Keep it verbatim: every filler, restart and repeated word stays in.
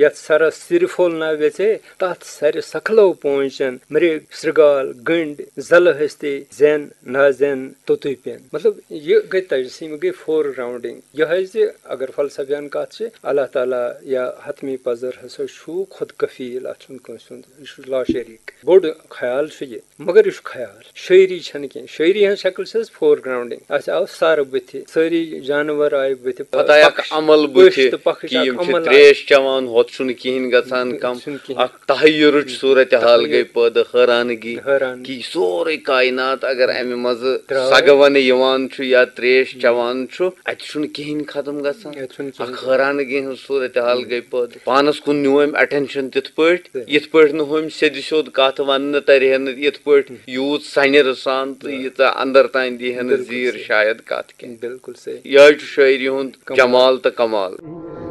یَتھ سَرَس سِرِ پھوٚل نہ ویژے، تَتھ سَرِ سَکھلو پونٛچَن، مِرِگ، سِرٛگال، گٔنٛڈۍ، زَلہٕ ۂستے، زٮ۪ن نازٮ۪ن توٚتُے پٮ۪ن۔ مطلب، یہِ گٔے تجسیٖم، گٔے فور گراؤنڈنگ۔ یِہوٚے زِ اگر فلسفیان کَتھ چھِ، اللہ تعالیٰ یا حتمی پَزر ہسا چھُ خود کفیل، اَتھ چھُنہٕ کٲنٛسہِ ہُنٛد، یہِ چھُ لا شریٖک۔ بوٚڑ خیال چھُ یہِ، مگر یہِ چھُ خیال، شٲعری چھَنہٕ کینٛہہ۔ شٲعری ہٕنٛز شکل چھِ حظ فور گراؤنڈنگ۔ اَسہِ آو سَر بٕتھِ، سٲری جانور آیہِ بٕتھِ، پتہٕ آیہِ اکھ پکش-، عمل بٕتھِ پٔژھۍ تہٕ پکش، کہِ اکھ یِم چھِ عمل آو۔ تریش چٮ۪وان، ہۄتھ چھُنہٕ کِہیٖنۍ گژھان کم۔ چھُنہٕ کِہیٖنۍ۔ اکھ تحیرٕچ صورتحال تحیر۔ گٔے پٲدٕ، حٲرانگی، حٲرانگی۔ کہِ یہِ سورُے کائنات اگر امہِ منٛزٕ درٛاو۔ سۄگہٕ ونہٕ یِوان چھُ یا تریش چٮ۪وان چھُ، اتہِ چھُنہٕ کِہیٖنۍ ختم گژھان۔ اتہِ چھُنہٕ کِہیٖنۍ اکھ ختم۔ حٲرانگی ہٕنٛز صورتحال گٔے پٲدٕ۔ پانس کُن نیوٗ أمۍ attention تِتھ پٲٹھۍ، صحیح۔ یِتھ پٲٹھۍ نہٕ ہُمۍ سیٚدِ سیوٚد کتھ وننہٕ ترِ ہے نہٕ، یِتھ پٲٹھۍ یوٗت سنِرٕ سان تہٕ ییٖژاہ اندر تام دی ہے نہٕ بِلکُل زیٖر صحیح۔ شاید کتھ کینٛہہ۔ بِلکُل صحیح۔ یِہوٚے چھُ شٲعری ہُنٛد کمال۔ جمال تہٕ کمال۔